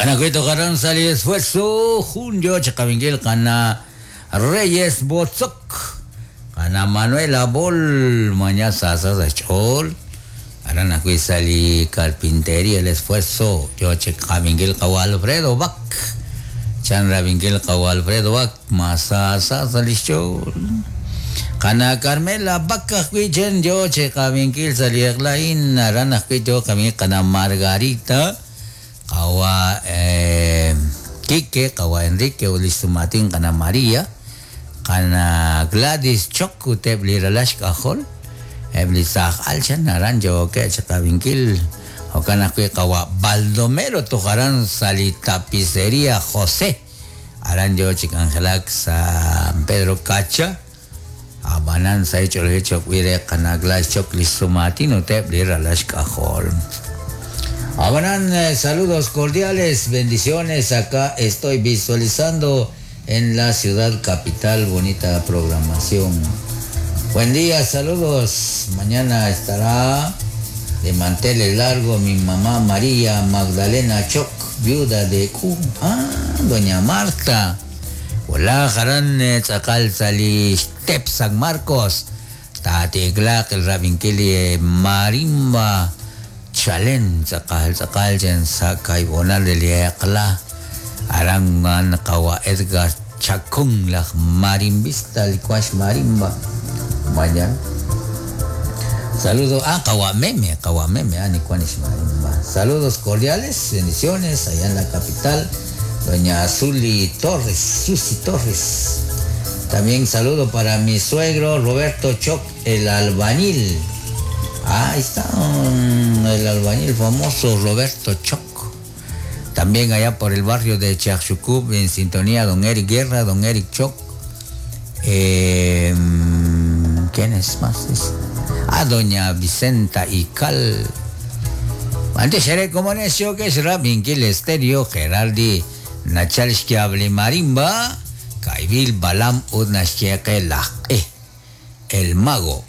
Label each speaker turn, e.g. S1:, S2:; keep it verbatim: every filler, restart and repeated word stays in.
S1: Anakuito garan sali esfuerzo junio chakabingil kana Reyes Botzok kana Manuela Bol mañana sasa chol aran akui sali carpintería el esfuerzo yo chakabingil kawa Alfredo Bak chan rabingil kawa Alfredo Bak masa sasa chol kana Carmela Bak chen yo chakabingil sali eklain aran akui yo kami kana Margarita kawa eh, Kike, kawa Enrique, ulistumatin kana María, kana Gladys Chok, utebli ralash kahol, ebli sah alchan naranjo ke chakabinkil, o kana kue kawa Baldomero tojaran sali tapicería José, aranjo chicangelak San Pedro Cacha, abanan sa hecho el hecho cuide kana Gladys Chok listumatin utebli ralash kahol. Habrán eh, saludos cordiales, bendiciones. Acá estoy visualizando en la ciudad capital, bonita programación. Buen día, saludos. Mañana estará de manteles largo mi mamá María Magdalena Choc, viuda de Q. Ah, doña Marta. Hola, Jarán Tzakal Sali Tep San Marcos. Tatiglak el Rabinkili Marimba. Chalen sakal sakal jen sakay bonal de liekla arangan kawa Edgar Chacón la marimbista licuash marimba mañana saludo ah kawa meme kawa meme ah nicuanish marimba saludos cordiales bendiciones allá en la capital doña Azuli Torres Susi Torres también saludo para mi suegro Roberto Choc el albañil. Ah, ahí está um, el albañil famoso Roberto Choc. También allá por el barrio de Chacchucub, en sintonía, don Eric Guerra, don Eric Choc. Eh, ¿Quién es más? Ah, doña Vicenta Ical. Antes seré como necio que será Vinquil Estéreo, Geraldi Nachalishkiable Marimba, Caibil Balam Udnashkieke Laj, el mago.